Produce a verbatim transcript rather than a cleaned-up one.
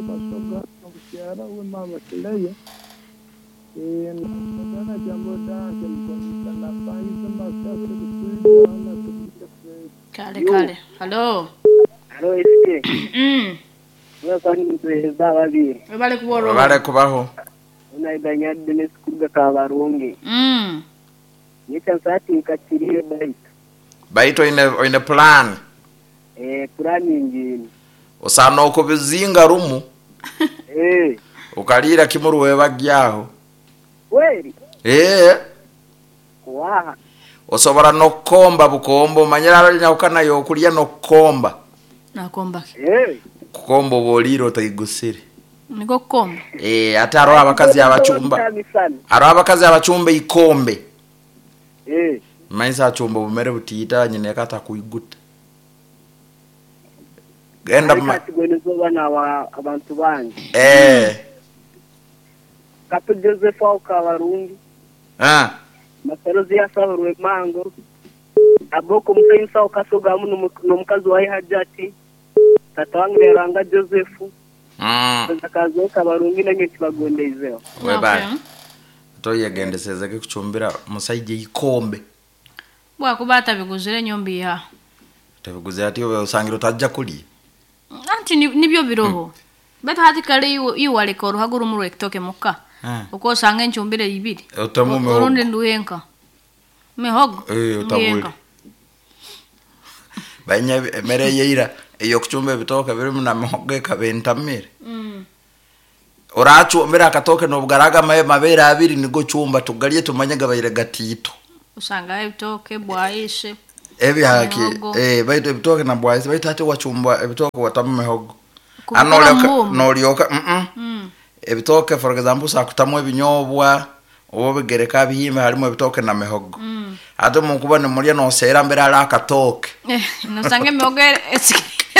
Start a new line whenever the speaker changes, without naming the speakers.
Basoga obukyara we mama Kileya eh na jambo dake mkonisa na pangiza masasa kusuida na kusuida.
Kale kale. Halo.
Halo S K.
Mm.
Mwasani mtuheza babiri.
Webale kuboro.
Webale kubaho.
Unaidanya Dennis Kuga Kabarungi.
Mm.
Nica nsati nkachiriyo baito.
Baito ine ine plan.
Eh plan nyingine.
Osana okubizinga rumu.
Eh.
Ukalira kimuru webagyaho.
Kweli?
Eh.
Waha.
Osobora nokomba bukombo manyira nyakana yokulya nokomba.
Nakomba.
Eh.
Kukomba boliro otayigusire.
Niko kukomba.
Eh ate aro abakazi abachumba. Aro abakazi abachumba ikombe.
Eh.
Maisa achumba bumere butiita nyine kata kuiguta. Genda
ma bana wa abantu bangi.
Eh.
Kato Joseph au Kabarungi.
Ah.
Masarozi yasabarwe mango. Aboko musainsa okasoga muno nomukazi wa Hajati. Tata wange ranga Joseph.
Mm.
Kazo Kabarungi nange kibagondeizeho.
Webale. Toyegendeseze kuchumbira musaije ikombe.
Bwa kubata biguzire nyombi ya.
Tabiguze ati osangira utajja kulya.
Anti nibyo biroho. Mm. Betu hati kale iwaleka oruhago rumu rwekitoke muka.
Mm.
Uko osanga enchumbire ibiri.
Utamu mihogo.
Orundi nduhenka. Mihogo.
Eh utabuli. Banya emere yeira eyo kuchumba ebitoke birimu na mihogo ekabentamire.
Mm.
Orachumbira akatoke nobugaraga maye mabere abiri nigo chumba tugalye tumanye gabaire gatito.
Usanga ebitoke bwaishe.
Ebi haki eh baitu ebitoke na bwaishe baitu ate wachumba ebitoke watamu mihogo. Anolyoka nolyoka mm
mm.
Ebitoke for example sakutamu ebinyobwa obo bigereka bihimba harimo ebitoke na mihogo.
Mm.
Ate mukuba ne mulya no sera mbere ala akatoke.
Eh no sange mihogo